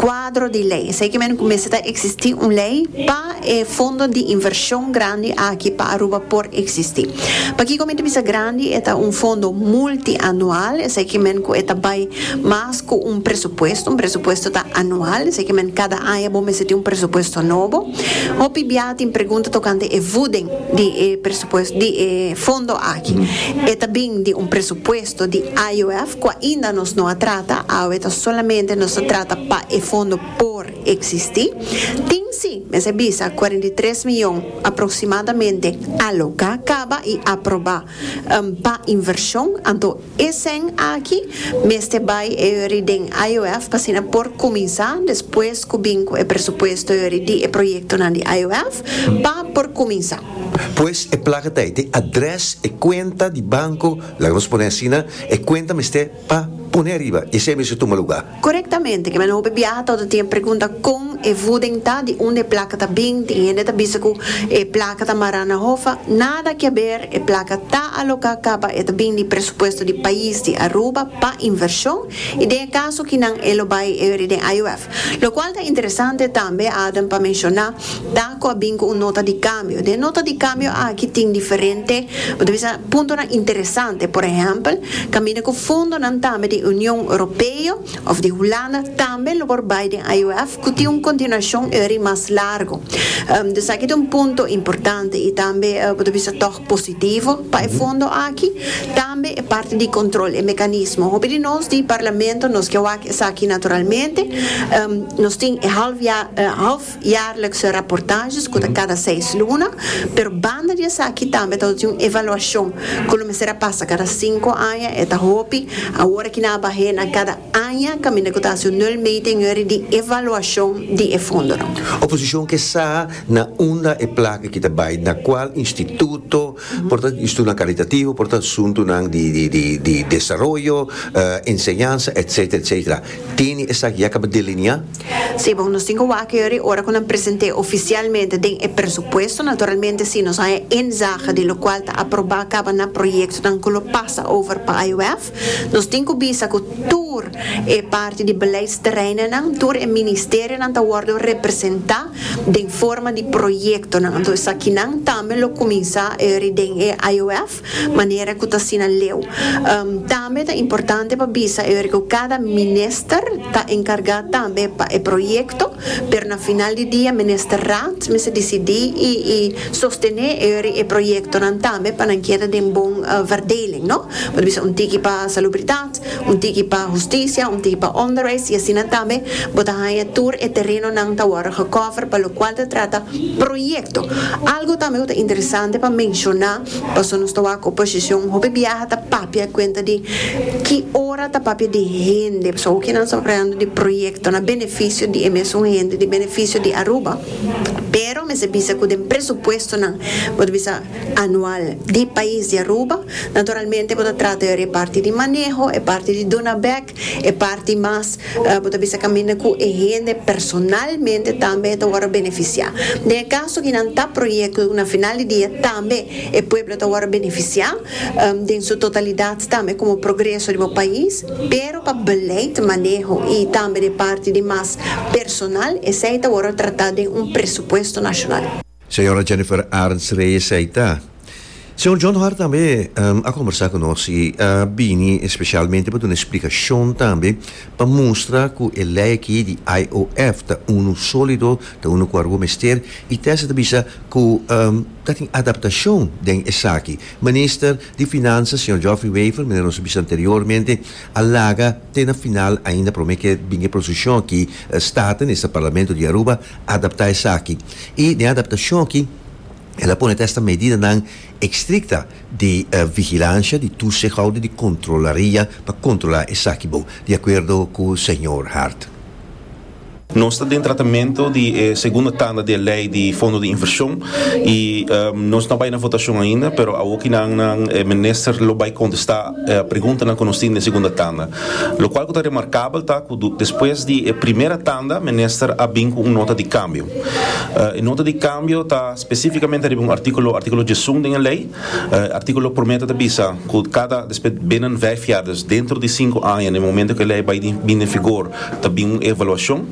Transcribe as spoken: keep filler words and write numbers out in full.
Cuadro di ley. Esey kiermen cu mester ta existi un ley pa e fondo di inversion grandi aki pa Aruba por existi. Pakico mi ta bisa grandi, e ta un fondo multianual, esey kiermen cu e ta bay mas cu un presupuesto, un presupuesto ta anual, esey kiermen cada aña bo mester tin un presupuesto nobo. Hopi bia tin pregunta tocante e voeding di e presupuesto di e fondo aki. E tambe di un presupuesto di I O F, cu ainda nos no a trata, awe solamente nos ta trata pa e fondo por existi. Tin si, mester bisa, cuarenta y tres miyon aproximadamente aloca caba y aproba um, pa inversion, anto esey aki, mester bay e den I O F, pa asina por cuminsa, despues cu bin e presupuesto di e proyecto di I O F, pa por cuminsa. Pues e placa ta e adres e cuenta di banco, laga nos pone asina, e cuenta mester pa pone ariba, esey mester tuma luga. Correctamente, kiermen hopi biaha tur tin pregunta con e voeding ta, di unda e placa ta bin, tin hende ta bisa cu e placa ta mara na HOFA, nada cu ber, e placa ta aloca caba, e ta bin di presupuesto di pais di Aruba pa inversion, y den caso cu nan e lo bay e den I O F. Lo cual ta interesante tambe, Adam, pa menciona, ta cu a bin cu un nota di cambio. Den nota di cambio aki tin diferente, bisa, punto interesante, por ehempel, caminda cu fondo nan tambe di Union Europeo of di Hulanda tambe lo por bay den I O F, cu tin un continuacion eri mas largo. Um, dus aki un punto importante y tambe uh, por bisa toch positivo pa e fondo aki, tambe e parti di control e mecanismo. Hopi di nos di parlamento nos kier aki naturalmente, um, nos tin half jaar, uh, halfjaarlijkse rapportages, cu cada seis luna, pero banda di esaki tambe tin un evaluacion, cu mester pasa cada cinco aña, e ta hopi, awor cu nan a baha na cada aña, caminda cu ta un nulmeting di evaluacion di e fondo. Oposicion kier sa na unda e placa cu ta bay, na cual instituto, por ta instituto caritativo, por ta asunto di, di, di, di desaroyo, uh, enseñansa, et cetera, et cetera. Tin esaki ya caba delinea? Si, bon, nos tin cu ora cu presenta oficialmente den e presupuesto, naturalmente si nos hay inzage di locual ta aproba caba na proyecto dan cu pasa over pa I O F, nos tin cu bisa cu tur e parti di beleidsterreinen nan, tur e ministerio nan ta wordo representa den forma di proyecto nan. Anto esaki nan tambe lo cuminsa e den e I O F, manera cu ta asina leu. Um, tambe ta importante pa bisa e cu cada minister ta encarga tambe pa e proyecto, pero na final di dia ministerraad mester dicidi y, y sostene e proyecto nan tambe pa nan keda den bon uh, verdeling, no? Por bisa un tiki pa salubridad, un tiki pa husticia, un tiki pa onderwijs y asina tambe bo ta haya tur e tereno nan ta wordo gecover pa locual ta trata proyecto. Algo tambe ta interesante pa menciona, paso nos ta cu oposicion hopi biaha ta papia cuenta di ki ora ta papia di hende, so cu nan ta papiando di proyecto na beneficio di mesun hende, di beneficio di Aruba. Pero mester bisa cu den presupuesto nan, bo ta bisa anual di pais di Aruba, naturalmente bo ta trata e parti di maneho, e parti di duna back, e parti mas, uh, bo ta bisa caminda cu e hende personalmente tambe ta wordo beneficia. Den caso cu nan ta proyecto na final di dia tambe e pueblo ta wordo beneficia, um, den su totalidad tambe como progreso di pais, pero pa beleid, maneho y tambe di parti di mas personal, esey ta wordo trata den un presupuesto nacional. Señora Jennifer Arns Reyes ta. Señor John Hart tambe um, a combersa cu nos y a bini especialmente pa un explicacion tambe pa mustra cu e ley aki di I O F ta uno solido, ta uno cu Aruba mester y tesa ta bisa cu um, ta tin adaptacion den esaki. Minister di Finanzas, señor Geoffrey Wever, manera nos bisa anteriormente, a laga te na final ainda prome cu bin e posicion aki Staten, e Parlamento di Aruba, adapta esaki. Y den adaptacion aki el a pone esta medida nan estricto di uh, vigilancia, di toezichthouder, di controlaria, pa controla esaki bon, di acuerdo cu señor Hart. Nos ta den tratamento di eh, segundo tanda di ley di fondo di inversion y um, nos no a bay na votacion ainda, pero aki nan nan eh, minister lo bay contesta eh, pregunta nan cu nos tin den segundo tanda. Lo cual ta remarcabel ta cu despues di eh, prome tanda, minister a bin cu un nota di cambio. Uh, e nota di cambio ta specificamente un articulo articulo diesun di ley, uh, articulo prome ta bisa cu cada despues binnen vijf jaar, dus dentro di cinco aña, na momento cu e ley bay bin den vigor, ta bin un evaluacion.